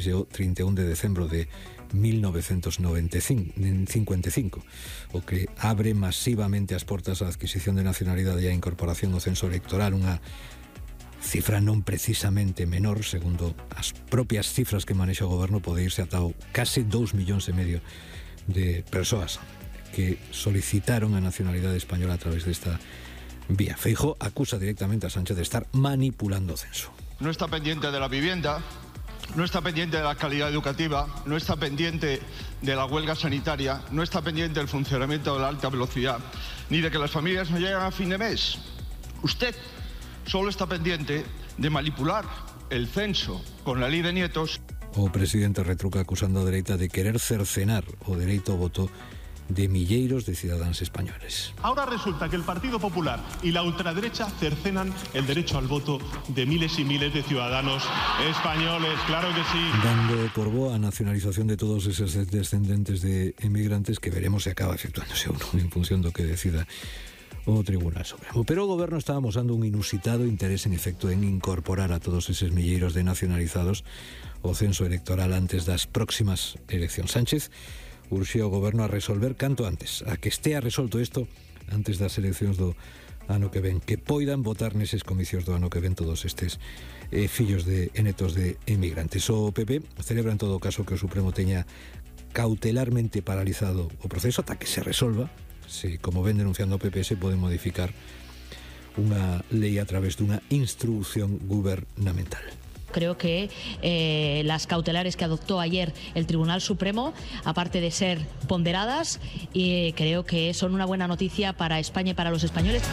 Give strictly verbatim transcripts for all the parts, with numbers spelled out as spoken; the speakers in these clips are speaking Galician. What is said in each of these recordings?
e o trinta e un de decembro de mil novecentos cincuenta e cinco, o que abre masivamente as portas á adquisición de nacionalidade e a incorporación ao censo electoral, unha cifra non precisamente menor, segundo as propias cifras que manexa o goberno, pode irse ata o case dous millóns e medio de persoas que solicitaron a nacionalidade española a través desta vía. Feijóo acusa directamente a Sánchez de estar manipulando o censo. No está pendiente de la vivienda, no está pendiente de la calidad educativa, no está pendiente de la huelga sanitaria, no está pendiente del funcionamiento de la alta velocidad, ni de que las familias no lleguen a fin de mes. Usted solo está pendiente de manipular el censo con la ley de nietos. O presidente retruca acusando a dereita de querer cercenar o dereito ao voto de milleiros de ciudadanos españoles. Ahora resulta que el Partido Popular y la ultraderecha cercenan el derecho al voto de miles y miles de ciudadanos españoles, claro que sí. Dando por boa a nacionalización de todos esos descendentes de emigrantes, que veremos se acaba efectuándose uno en función do que decida o Tribunal Supremo. Pero o goberno está amosando un inusitado interés en efecto en incorporar a todos eses milleiros de nacionalizados ao censo electoral antes das próximas eleccións. Sánchez urxe o goberno a resolver canto antes, a que estea resolto isto antes das eleccións do ano que ven, que poidan votar neses comicios do ano que ven todos estes eh, fillos de e netos de emigrantes. O P P celebra en todo caso que o Supremo teña cautelarmente paralizado o proceso ata que se resolva se, como ven denunciando o P P, se pode modificar unha lei a través dunha instrucción gubernamental. Creo que eh, las cautelares que adoptó ayer el Tribunal Supremo, aparte de ser ponderadas, y creo que son una buena noticia para España y para los españoles.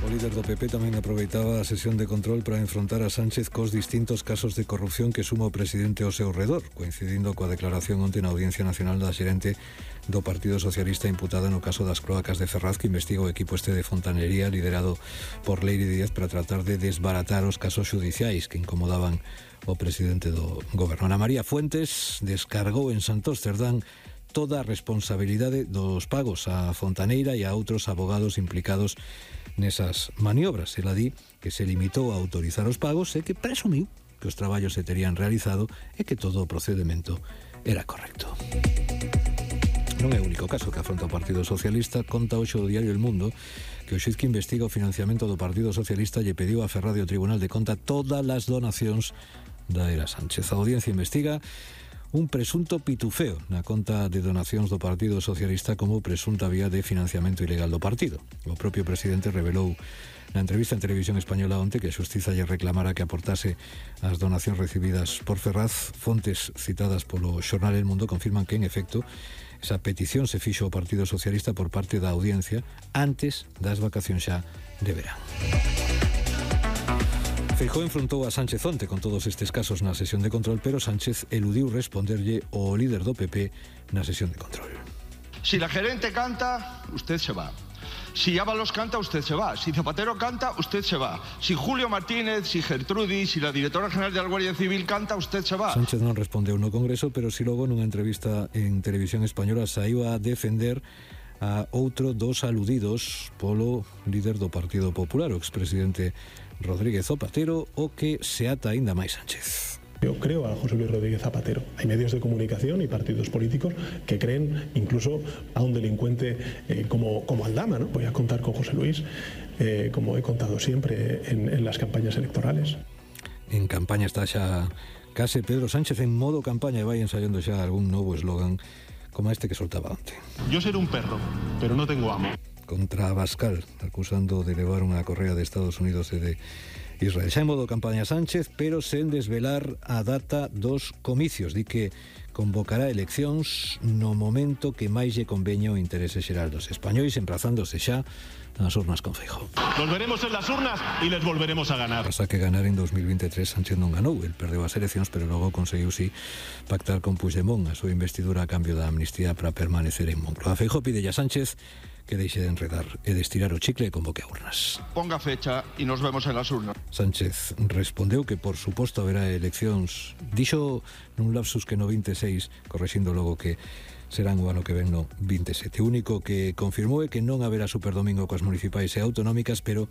O líder do P P tamén aproveitaba a sesión de control para enfrontar a Sánchez cos distintos casos de corrupción que suma o presidente ao seu redor, coincidindo coa declaración onte na Audiencia Nacional da xerente do Partido Socialista imputada no caso das cloacas de Ferraz, que investiga o equipo este de fontanería liderado por Leire Díaz para tratar de desbaratar os casos xudiciais que incomodaban o presidente do goberno. Ana María Fuentes descargou en Santosterdán toda a responsabilidade dos pagos á fontaneira e a outros abogados implicados nesas maniobras. Ela di que se limitou a autorizar os pagos e que presumiu que os traballos se terían realizado e que todo o procedimento era correcto. Non é o único caso que afronta o Partido Socialista. Conta hoxe o diario El Mundo que o xuiz que investiga o financiamento do Partido Socialista lle pediu a Ferrari o Tribunal de Conta todas as donacións da era Sánchez. A audiencia investiga un presunto pitufeo na conta de donacións do Partido Socialista como presunta vía de financiamento ilegal do partido. O propio presidente revelou na entrevista en Televisión Española onte que a xustiza lle reclamara que aportase as donacións recibidas por Ferraz. Fontes citadas polo xornal El Mundo confirman que, en efecto, esa petición se fixo ao Partido Socialista por parte da audiencia antes das vacacións xa de verán. Feijóo enfrontou a Sánchez onte con todos estes casos na sesión de control, pero Sánchez eludiu responderlle ao líder do P P na sesión de control. Si la gerente canta, usted se va. Si Ábalos canta, usted se va. Si Zapatero canta, usted se va. Si Julio Martínez, si Gertrudis, si la directora general de la Guardia Civil canta, usted se va. Sánchez non respondeu no Congreso, pero si logo nunha entrevista en Televisión Española saiu a defender a outro dos aludidos polo líder do Partido Popular, o expresidente Rodríguez Zapatero, o que se ata aínda máis Sánchez. Yo creo a José Luis Rodríguez Zapatero. Hay medios de comunicación y partidos políticos que creen incluso a un delincuente eh, como, como Aldama, ¿no? Voy a contar con José Luis, eh, como he contado siempre en, en las campañas electorales. En campaña está xa case Pedro Sánchez en modo campaña e vai ensayando xa algún novo eslogan como este que soltaba onte. Yo seré un perro, pero no tengo amo. Contra Abascal, acusando de levar unha correa de Estados Unidos e de Israel. Xa en modo campaña Sánchez, pero sen desvelar a data dos comicios. Di que convocará eleccións no momento que máis lle conveña o interese xeral dos españois, emprazándose xa nas urnas con Feijóo. Nos veremos en las urnas y les volveremos a ganar. Pasa que ganar en dos mil veintitrés Sánchez non ganou, el perdeu as eleccións, pero logo conseguiu si pactar con Puigdemont a súa investidura a cambio da amnistía para permanecer en Moncloa. Feijóo pide a Sánchez que deixe de enredar e de estirar o chicle e convoque a urnas. Ponga fecha y nos vemos en las urnas. Sánchez respondeu que por suposto haberá eleccións. Dixo nun lapsus que no veintiséis, correxindo logo que serán o ano que ven no veintisiete. O único que confirmou é que non haberá superdomingo coas municipais e autonómicas, pero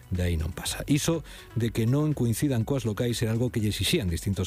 de aí non pasa. Iso de que non coincidan coas locais era algo que lle exixían distintos